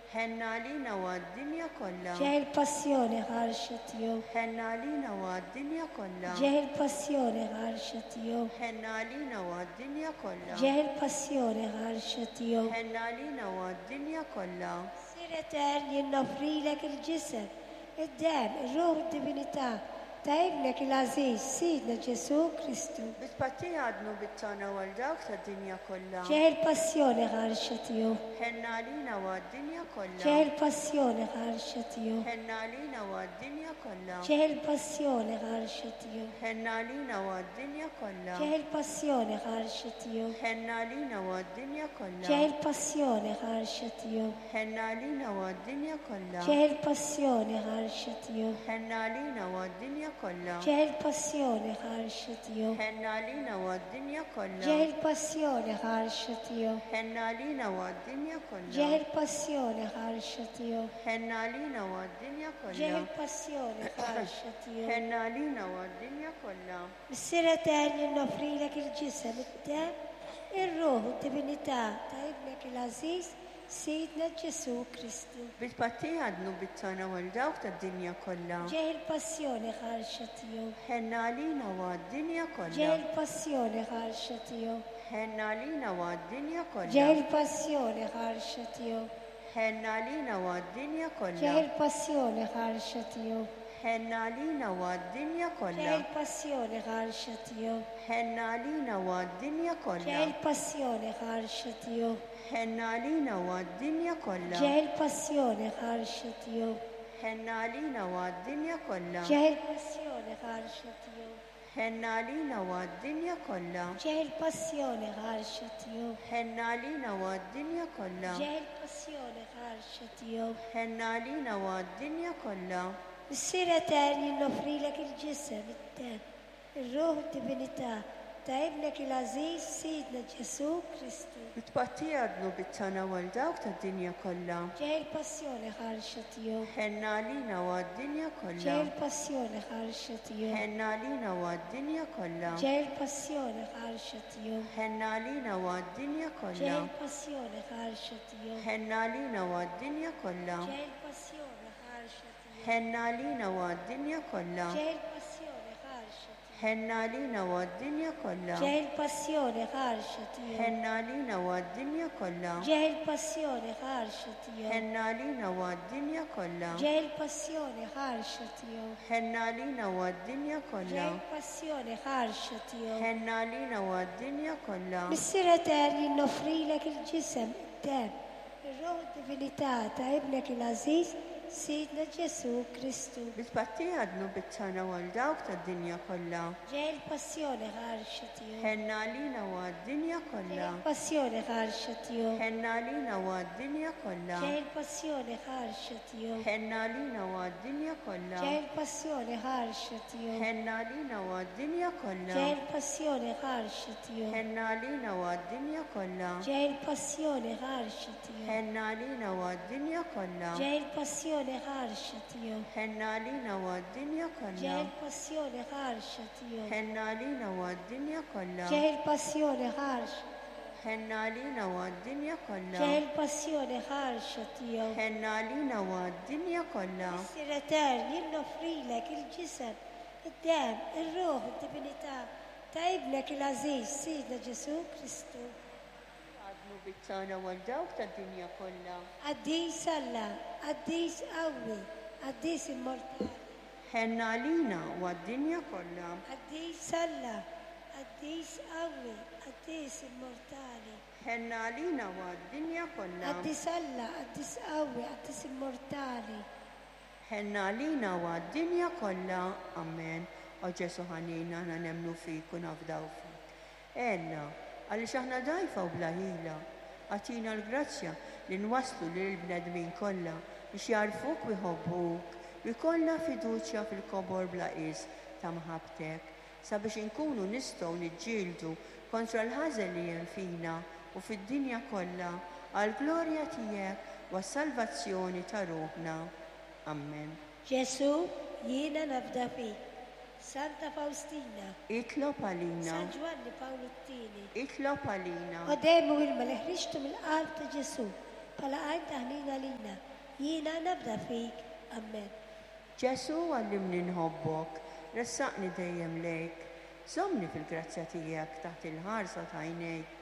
Ħenn għalina u għad-dinja kollha. Ġieħ il-passjoni ħarxa tiegħu. Ħenn għalina u għad-dinja kollha. Ġieħ il-passjoni ħarxa tiegħu. Ħenn għalina u għad-dinja kollha. Ġieħ il-passjoni ħarxa tiegħu. Ħenn għalina u għad-dinja kollha. Missier etern, jien noffrilek il-ġisem, id-demm, ir-ruħ u d-divinità ta' Ibnek il-għażiż, Sidna Ġesù Kristu. Bi tpattija għad-dnubiet tagħna u għal dawk tad-dinja kollha. Ġieħ il-passjoni ħarxa tiegħu. Ħenn għalina u għad-dinja kollha. Ġieħ il-passjoni ħarxa tiegħu. Ħenn għalina u għad-dinja kollha. Ġieħ il-passjoni ħarxa tiegħu. Ħenn għalina u għad-dinja kollha. Ġieħ il-passjoni ħarxa tiegħu. Ħenn għalina u għad-dinja kollha. Ġieħ il-passjoni ħarxa tiegħu. Ħenn għalina u għad-dinja kollha. Ġieħ il-passjoni ħarxa tiegħu. Ħenn għalina u għad-dinja kollha. Ġieħ il-passjoni ħarxa tiegħu. Ħenn għalina u għad-dinja kollha. Ġieħ il-passjoni ħarxa tiegħu. Ħenn għalina u għad-dinja kollha. Ġieħ il-passjoni ħarxa tiegħu. Ħenn għalina u għad-dinja kollha. Ġieħ il-passjoni ħarxa tiegħu. Ħenn għalina u għad-dinja kollha. Missier etern, jien noffrilek il-ġisem, id-demm, ir-ruħ u d-divinità ta' Ibnek il-għażiż, Sidna Ġesù Kristu. Bi tpattija għad-dnubiet tagħna u għal dawk tad-dinja kollha. Ġieħ il-passjoni ħarxa tiegħu. Ħenn għalina u għad-dinja kollha. Ġieħ il-passjoni ħarxa tiegħu. Ħenn għalina u għad-dinja kollha. Ġieħ il-passjoni ħarxa tiegħu. Ħenn għalina u għad-dinja kollha. Ġieħ il-passjoni ħarxa tiegħu. Ħenn għalina u għad-dinja kollha. Ġieħ il-passjoni ħarxa tiegħu. Ħenn għalina u għad-dinja kollha. Ġieħ il-passjoni ħarxa tiegħu. Ħenn għalina u għad-dinja kollha. Ġieħ il-passjoni ħarxa tiegħu. Ħenn għalina u għad-dinja kollha. Ġieħ il-passjoni ħarxa tiegħu. Ħenn għalina u għad-dinja kollha. Ġieħ il-passjoni ħarxa tiegħu. Ħenn għalina u għad-dinja kollha. Ġieħ il-passjoni ħarxa tiegħu. Ħenn għalina u għad-dinja kollha. Missier etern, jien noffrilek il-ġisem, id-demm, ir-ruħ u d-divinità ta' Ibnek il-għażiż, Sidna Ġesù Kristu. Bi tpattija għad-dnubiet tagħna u għal dawk tad-dinja kollha. Ġieħ il-passjoni ħarxa tiegħu. Ħenn għalina u għad-dinja kollha. Ġieħ il-passjoni ħarxa tiegħu. Ħenn għalina u għad-dinja kollha. Ġieħ il-passjoni ħarxa tiegħu. Ħenn għalina u għad-dinja Ġieħ kollha. il-passjoni ħarxa tiegħu. Ħenn għalina u għad-dinja kollha. Ġieħ il-passjoni ħarxa tiegħu. Ħenn għalina u għad-dinja kollha. Ġieħ il-passjoni ħarxa tiegħu. Ħenn għalina u għad-dinja kollha. Ġieħ il-passjoni ħarxa tiegħu. Ħenn għalina u għad-dinja kollha. Ġieħ il-passjoni ħarxa tiegħu. Ħenn għalina u għad-dinja kollha. Ġieħ il-passjoni ħarxa tiegħu. Ħenn għalina u għad-dinja kollha. Ġieħ il-passjoni ħarxa tiegħu. Ħenn għalina u għad-dinja kollha. Missier etern, jien noffrilek il-ġisem, id-demm, ir-ruħ u d-divinità ta' Ibnek il-għażiż, Sidna Ġesù Kristu. Bi tpattija għad-dnubiet tagħna u għal dawk tad-dinja kollha. Ġieħ il-passjoni ħarxa tiegħu. Ħenn għalina u għad-dinja Ġieħ kollha. il-passjoni ħarxa tiegħu. Ħenn għalina u għad-dinja kollha. Ġieħ il-passjoni ħarxa tiegħu. Ħenn għalina u għad-dinja kollha. Ġieħ il-passjoni ħarxa tiegħu. Ħenn għalina u għad-dinja kollha. Ġieħ il-passjoni ħarxa tiegħu. Ħenn għalina u għad-dinja kollha. Ġieħ il-passjoni ħarxa tiegħu. Ħenn għalina u għad-dinja kollha. Ġieħ il-passjoni ħarxa tiegħu. Ħenn għalina u għad-dinja kollha. Ġieħ il-passjoni ħarxa tiegħu. Ħenn għalina u għad-dinja kollha. Ġieħ il-passjoni ħarxa. Ħenn għalina u għad-dinja kollha. Ġieħ il-passjoni ħarxa tiegħu. Ħenn għalina u għad-dinja kollha. Missier etern, jien noffrilek il-ġisem, id-demm, ir-ruħ u d-divinità ta' Ibnek il-għażiż, Sidna Ġesù Kristu. Għad-dnubiet tagħna u għal dawk tad-dinja kollha. Qaddis Alla, qaddis qawwi, qaddis immortali. Ħenn għalina u għad-dinja kollha. Qaddis Alla, qaddis qawwi, qaddis immortali. Ħenn għalina u għad-dinja kollha. Qaddis Alla, qaddis qawwi, qaddis immortali. Ħenn għalina u għad-dinja kollha. Amen. O Ġesù ħanin, aħna nemmnu fik u nafdaw fik. Għenna, għaliex aħna dgħajfa u bla ħila. Agħtina l-grazzja li nwasslu lill-bnedmin kollha biex jagħrfuk u jħobbuk u jkollna fiduċja fil-kobor bla qies ta' mħabbtek, sabiex inkunu nistgħu niġġieldu kontra l-ħażen li hemm fina u fid-dinja kollha għall-glorja tiegħek u għas-salvazzjoni ta' ruħna. Amen. Ġesù, jiena nafda fik. Santa Faustina. Itlob għalina. San Ġwanni Pawlu t-Tieni. Itlob għalina. O demm u ilma li ħriġtu mill-qalb ta' Ġesù bħala għajn ta' ħniena għalina. Jiena nafda fik. Amen. Ġesù għallimni nħobbok, ressaqni dejjem lejk. Żommni fil-grazzja tiegħek taħt il-ħarsa ta' għajnejk.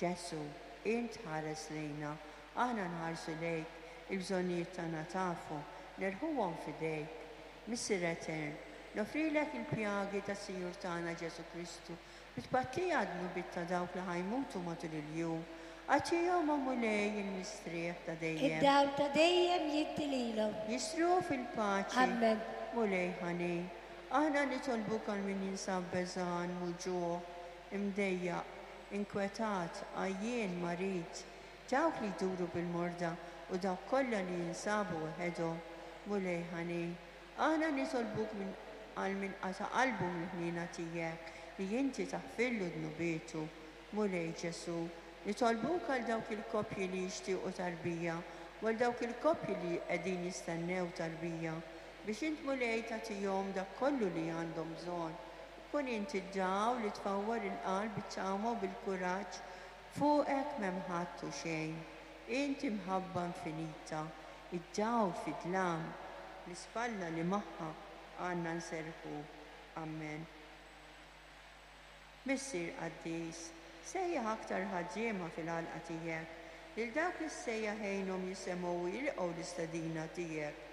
Ġesù, int tħares lejna, aħna nħarsu lejk, il-bżonnijiet tagħna tafu, nerħuhom f'idejk. Missier Etern, noffrilek il-pjagi tas-Sinjur tagħna Ġesù Kristu bi tpattija għad-dnubiet ta' dawk li ħa jmutu matul il-jum. Agħtihom, o Mulej, il-mistrieħ ta' dejjem. Id-dawl ta' dejjem jiddi lilhom. Jistrieħu fil-paċi. Amen. Mulej ħanin, aħna nitolbuk għal min jinsab beżgħan, muġugħ, imdejjaq, inkwetat, għajjien, marid, dawk li jduru bil-morda u dawk kollha li jinsabu waħedhom. Mulej ħanin, aħna nitolbuk minn għal min qata' qalbu mill-ħniena tiegħek li inti taħfirlu dnubietu. Mulej Ġesù, nitolbuk għal dawk il-koppji li jixtiequ tarbija u għal dawk il-koppji li qegħdin jistennew tarbija, biex int Mulej tagħtihom dak kollu li għandhom bżonn. Kun int id-dawl li tfawwar il-qalb bit-tama u bil-kuraġġ, fuqek m'hemm ħadd u xejn. Int imħabba infinita, id-dawl fid-dlam, l-ispalla li magħha għandna nserrħu. Amen. Missier qaddis, sejjaħ aktar ħaddiema fil-għalqa tiegħek, lil dawk li ssejjaħ għinhom jisemgħu u jilqgħu l-istedina tiegħek.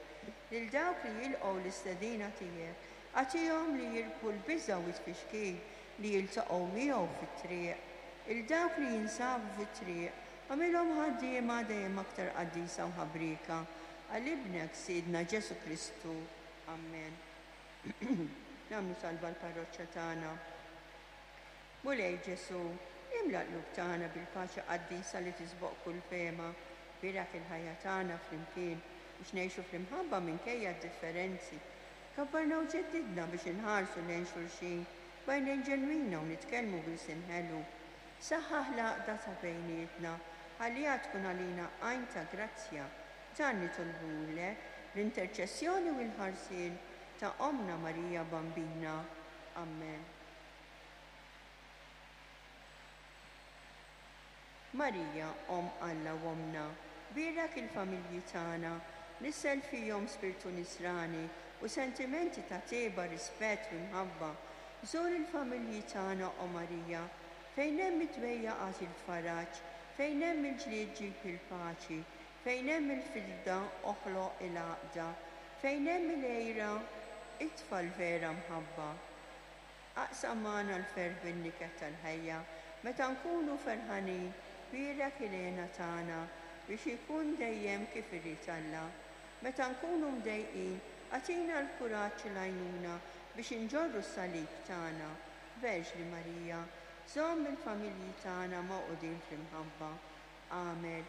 Lil dawk li jilqgħu l-istedina tiegħek, agħtihom li jirbħu l-biża' u t-tfixkil li jiltaqgħu miegħu fit-triq. Lil dawk li jinsabu fit-triq, agħmilhom ħaddiema dejjem aktar qaddisa u ħabrieka għal Ibnek Sidna Ġesù Kristu. Amen. Nagħmlu talba l-parroċċa tagħna. Mulej Ġesù, imla l-qlub tagħna bil-paċi qaddisa li tisboq kull fehma. Bierak il-ħajja tagħna flimkien biex ngħixu fl-imħabba minkejja d-differenzi. Kabbarna u ġeddidna biex inħarsu lejn xulxin b'għajnejn ġenwina u nitkellmu b'ilsien ħelu. Saħħaħ l-għaqda ta' bejnietna, ħalliha tkun għalina għajn ta' grazzja. Dan nitolbuhulek bl-interċessjoni u l-ħarsien ta' Ommna Marija Bambina. Amen. Marija, Omm Alla u Ommna, bierek il-familji tagħna, nissel fihom spirtu nisrani u sentimenti ta' tjieba, rispett u imħabba. Żur il-familji tagħna, o Marija, fejn hemm it-dwejjaq agħti l-faraġ, fejn hemm il-ġlied ġib il-paċi, fejn hemm il-firda oħloq il-għaqda, fejn hemm il-għira itfa' l-vera mħabba. Aqsam magħna l-ferħ bin-niket tal-ħajja, meta nkunu ferħanin, bierek il-hena tagħna biex ikun dejjem kif irid Alla. Meta nkunu mdejqin, agħtina l-kuraġġ u l-għajnuna biex inġorru s-salib tagħna. Verġni Marija, żomm il-familji tagħna magħqudin fl-imħabba. Agħmel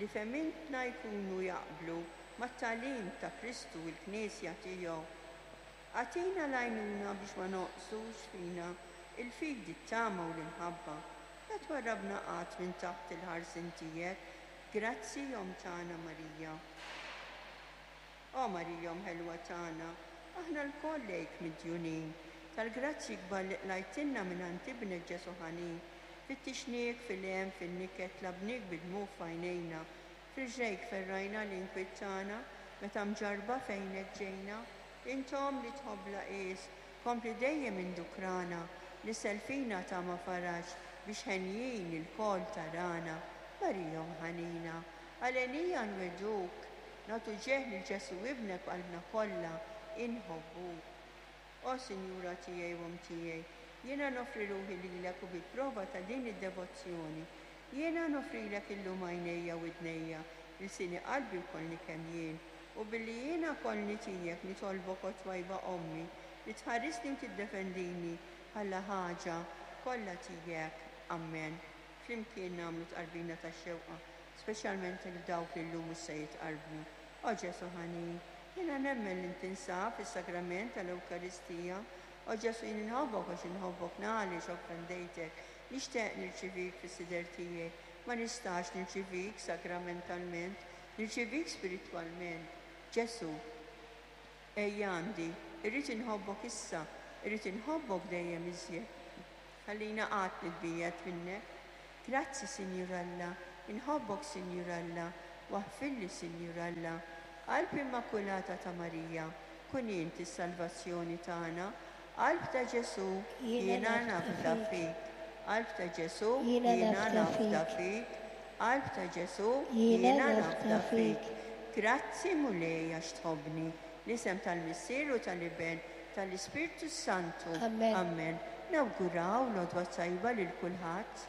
li fehmintna jkunu jaqblu mat-tagħlim ta' Kristu u l-Knisja tiegħu. Agħtina l-għajnuna biex ma nonqsux fina l-fidi, t-tama u l-imħabba. La twarrabna qatt minn taħt il-ħarsien tiegħek. Grazzi, Omm tagħna Marija. O Marija Omm ħelwa tagħna, aħna lkoll lejk midjunin, tal-grazzji kbar li qlajtilna mingħand Ibnek Ġesù ħanin. Fittixniek fil-hemm, fin-niket, tlabniek bid-dmugħ f'għajnejna. F'riġlejk ferrajna l-inkwiet tagħna, meta mġarrba fejnek ġejna. Int Omm li tħobb bla qies, kompli dejjem indukrana, nissel fina tama faraġ, biex henjin ilkoll tarana. Marija Omm ħanina, għalenija nwegħduk, nagħtu ġieħ lil Ġesù Ibnek b'qalbna kollha, inħobbuk. O Sinjura tiegħi u Omm tiegħi, jiena noffri ruħi lilek u bi prova ta' din id-devozzjoni, jiena noffrilek illum għajnejja u widnejja, ilsieni qalbi u kollni kemm jien, u billi jiena kollni tiegħek nitolbok o twajba Ommi, li tħarisni u tiddefendini bħala ħaġa kollha tiegħek. Ammen. Flimkien nagħmlu tqarbina tax-xewqa, speċjalment lil dawk li llum mhux se jitqarbnu. O Ġesù ħanin, Jiena nemmen li int tinsab fis-Sagrament tal-Ewkaristija. O Ġesù jien inħobbok għax inħobbok na għaliex offendejtek. Nixtieq nirċivik fis-sider tiegħi. Ma nistax nirċivik sagramentalment, nirċivik spiritwalment. Ġesù, ejja għandi, irrid inħobbok issa, irrid inħobbok dejjem iżjed. Tħallina qatt nitbiegħed minnek. Grazzi Sinjur Alla, inħobbok Sinjur Alla, waħfirli Sinjur Alla. Qalb Immakulata ta' Marija, kun int is-salvazzjoni tagħna. Qalb ta' Ġesù, jiena nafda fik. Qalb ta' Ġesù, jiena nafda fik. Qalb ta' Ġesù, jiena nafda fik. Grazzi Mulej għax tħobbni. L-isem tal-Missier u tal-Iben, tal-Ispirtu s-Santu. Amen. Amen. Nawguraw l-għodwa t-tajba lil kulħadd.